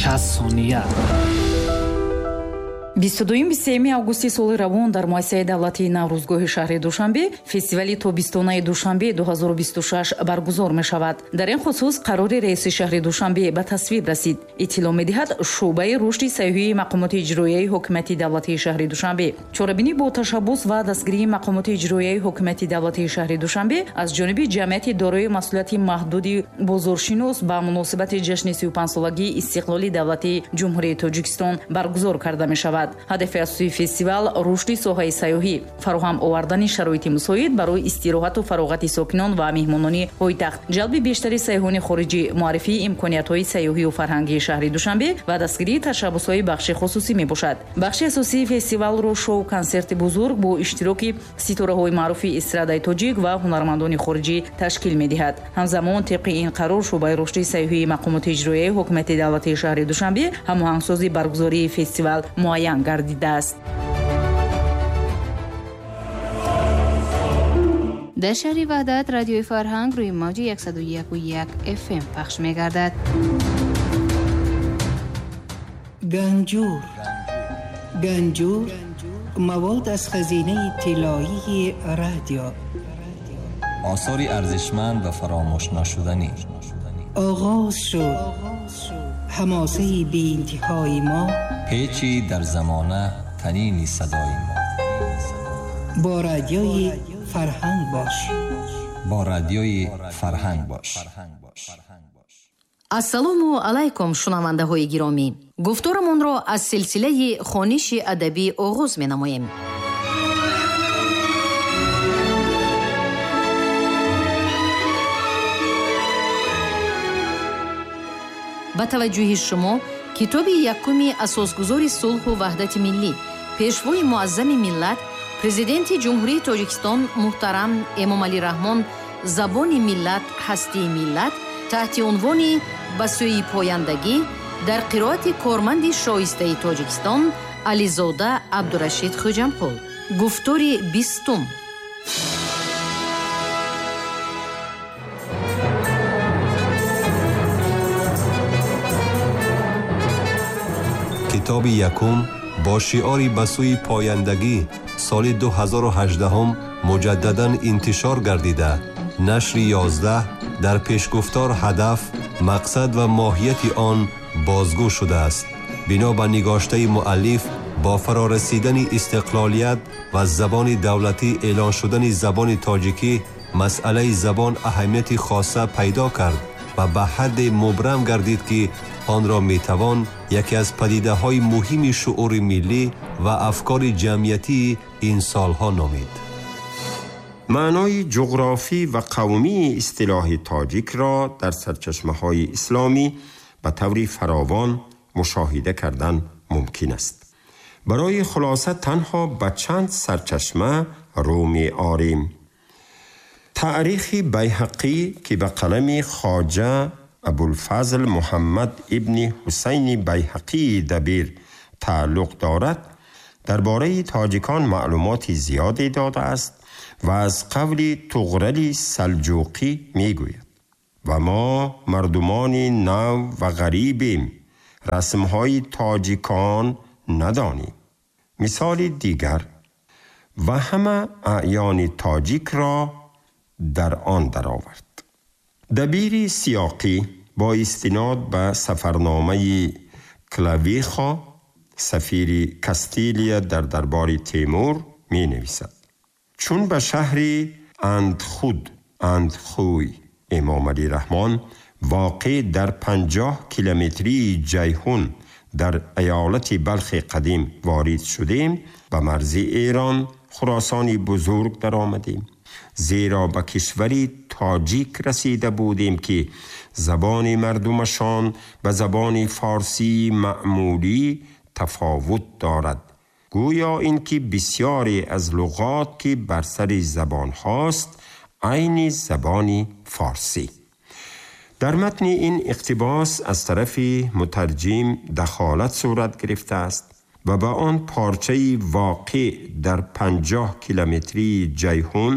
60 сония. 22-23 августи соли равон дар муассисаи давлатии Наврӯзгоҳи шаҳри Душанбе фестивали тобистонаи Душанбе 2026 баргузор мешавад. Дар ин хусус қарори раиси шаҳри Душанбе ба тасвиб расид. Иттилоъ медиҳад шӯъбаи рушди сайёҳии мақомоти иҷроияи ҳокимияти давлатии шаҳри Душанбе. Чорабинӣ бо ташаббус ва дастгирии мақомоти иҷроияи ҳокимияти давлатии шаҳри Душанбе аз ҷониби ҷамъияти дорои масъулияти маҳдуди бозоршинос ба муносибати ҷашни 35-солагии истиқлоли давлатии Ҷумҳурии Тоҷикистон баргузор карда мешавад. Ҳадафи асосии фестивал рушди соҳаи сайёҳӣ, фароҳам овардани шароити мусоид барои истироҳату фароғати сокинон ва меҳмонони пойтахт, ҷалби бештари сайёҳони хориҷӣ, муаррифии имкониятҳои сайёҳию фарҳангии шаҳри Душанбе ва дастгирии ташаббусҳои бахши хусусӣ мебошад. Бахши асосии фестивалро шоу-консерти бузург бо иштироки ситораҳои маъруфи эстрадаи тоҷик ва ҳунармандони хориҷӣ ташкил медиҳад. Ҳамзамон тибқи ин қарор шӯъбаи рушди сайёҳии мақомоти иҷроияи ҳокимияти давлатии шаҳри Душанбе ҳамоҳангсози баргузории фестивал муайян гардидааст. Дар шаҳри Ваҳдат радиои Фарҳанг рӯи мавҷи 101.1 FM пахш мегардад. Ганҷур. Ганҷур мавод аз хазинаи тиллоии радио. Осори арзишманд ва фаромӯшнашуданӣ. Оғоз шуд ҳамосаи беинтиҳои мо, печи дар замона танини садои мо. Бо радиои Фарҳанг бош. Бо радиои Фарҳанг бош. Ассалому алайкум, шунавандаҳои гиромӣ. Гуфторамонро аз силсилаи хониши адабӣ оғоз менамоем. Ба таваҷҷӯҳи шумо китоби якуми асосгузори сулҳу ваҳдати миллӣ, пешвои муаззами миллат, президенти Ҷумҳурии Тоҷикистон муҳтарам Эмомалӣ Раҳмон «Забони миллат, ҳастии миллат» таҳти унвони «Ба сӯи пояндагӣ» дар қироати корманди шоистаи Тоҷикистон Ализода Абдурашид Хӯҷамқул. Гуфтори 20. Китоби якум бо шиори «Ба сӯи пояндагӣ» соли 2018 муҷаддадан интишор гардида, нашри 11 дар пешгуфтор ҳадаф, мақсад ва моҳияти он бозгӯ шудааст. Бино ба нигоштаи муаллиф, бо фарорасидани истиқлолият ва забони давлатӣ эълон шудани забони тоҷикӣ, масъалаи забон аҳамияти хоса пайдо кард ва ба ҳадде мубрам гардид, ки онро метавон яке аз падидаҳои муҳими шуури миллӣ ва афкори ҷамъиятии ин солҳо номид. Маънои ҷуғрофӣ ва қавмии истилоҳи тоҷикро дар сарчашмаҳои исломӣ ба таври фаровон мушоҳида кардан мумкин аст. Барои хулоса танҳо ба чанд сарчашма рӯ меорем. Таърихи Байҳақӣ, ки ба қалами Хоҷа Абулфазл Муҳаммад ибни Ҳусайни Байҳақии Дабир тааллуқ дорад, дар бораи тоҷикон маълумоти зиёде додааст ва аз қавли Туғрали Салҷуқӣ мегӯяд: ва мо мардумони нав ва ғарибем, расмҳои тоҷикон надонем. Мисоли дигар: ва ҳама аъёни тоҷикро дар он даровард. Дабири Сиёқӣ бо истинод ба сафарномаи Клавихо, сафири Кастилия дар дарбори Темур, менависад: чун ба шаҳри Андхуд, Андхуй Эмомалӣ Раҳмон воқеъ дар 50 километрии Ҷайҳун дар иёлати Балхи қадим ворид шудем, ба марзи Эрон, Хуросони бузург даромадем. Зеро ба кишвари тоҷик расида будем, ки забони мардумашон ба забони форсии маъмулӣ тафовут дорад. Гӯё ин ки бисёре аз луғот, ки бар сари забон ҳост, айни забони форсӣ. Дар матни ин иқтибос аз тарафи мутарҷим дахолат сурат гирифтааст ва ба он порчаи воқеъ дар 50 километрии Ҷайҳун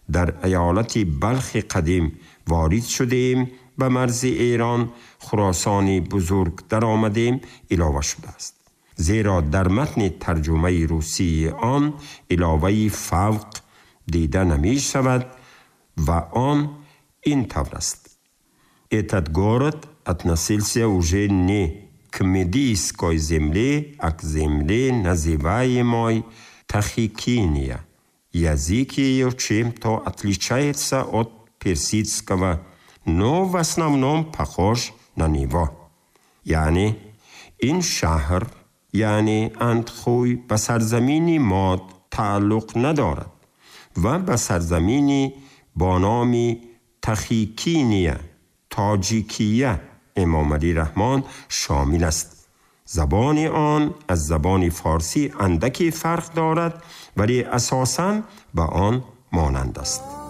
дар иёлати Балхи қадим ворид шудем به مرز ایران خراسان بزرگ درآمدیم علاوه شده است، زیرا در متن ترجمه روسی آن علاوه فوق دیده نمی شود و آن این طور است: Этот город относился уже не к Медийской земле, а к земле, называемой Тахикиния. Язык ее чем-то отличается от персидского, но в основном похож на него. یعنی این شهر، یعنی اندخوی، به سرزمین ماد تعلق ندارد و به سرزمینی با نام تخیکینیه، تاجیکیه امام علی رحمان شامل است. زبان آن از زبان فارسی اندکی فرق دارد، ولی اساساً به آن مانند است.